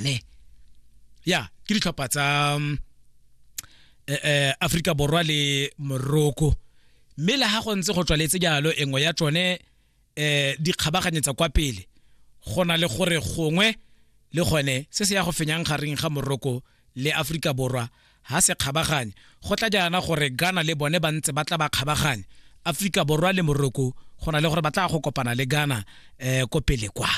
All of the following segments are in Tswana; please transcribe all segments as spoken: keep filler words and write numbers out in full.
bone. Ya ke ditlhopha tsa eh, eh, Afrika Borwa le Morocco, mme le ha go ntse go tswaletse jalo engwe ya tsone eh di kgabaganyetsa kwa pele, go na le gore gongwe le gone se se ya go fenyang gareng ga Morocco le Afrika Borwa ha se kgabaganye. Go tla jaana gore Ghana le bone ba ntse ba tla ba kgabaganya Afrika Borwa le Morocco, go na le gore ba tla go kopana le Ghana eh ko pele kwa.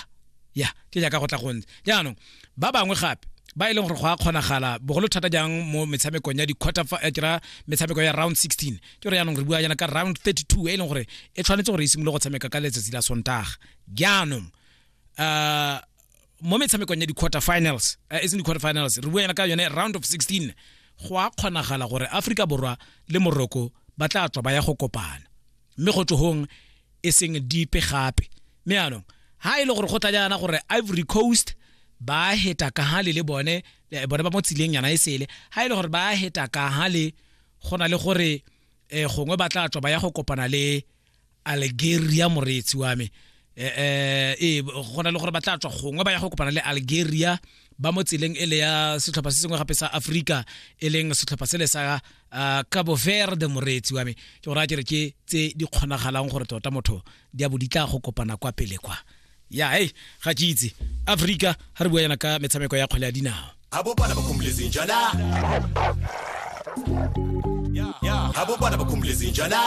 Ya ke jaaka go tla go ntse jaanong. Ba bangwe gape ba e leng gore go a kgonagala bogolo thata jang mo metshamekong ya di-quarter eh, ke ra metshameko ya round sixteen, ke gore jaanong re bua jaana ka round thirty-two e leng gore e tshwanetse gore e simolole go tshameka ka letsatsi la Sontaga. Jaanong uh, mo metshamekong ya di-quarter finals, uh, e seng di-quarter finals, re bua jaana ka yone round of sixteen, go a kgonagala gore Afrika Borwa le Morocco ba tla tswa ba ya go kopana, mme go tsogong e seng dipe gape. Mme jaanong ha e le gore go tla jaana gore Ivory Coast ba heta ka hale le bone, bone ba mo tsileng yana e sele, ha e le gore ba heta ka hale, go na le gore eh gongwe ba tla tswa ba ya go kopana le Algeria, moreetsi wa me. Eh eh go na le gore ba tla tswa gongwe ba ya go kopana le Algeria ba mo tseleng e le ya setlhopha se sengwe gape sa Afrika, e leng setlhopha sele sa uh, Cabo Verde, moreetsi wa me. Ke gore a kere ke tse di kgonagalang gore tota motho di a bo di tla go kopana kwa pele kwa. Ya hey ga ke itse Afrika ha re bua yana ka metshameko ya kgwele ya dinao. Abobana bakhumbule izinja la. Abobana bakhumbule izinja la.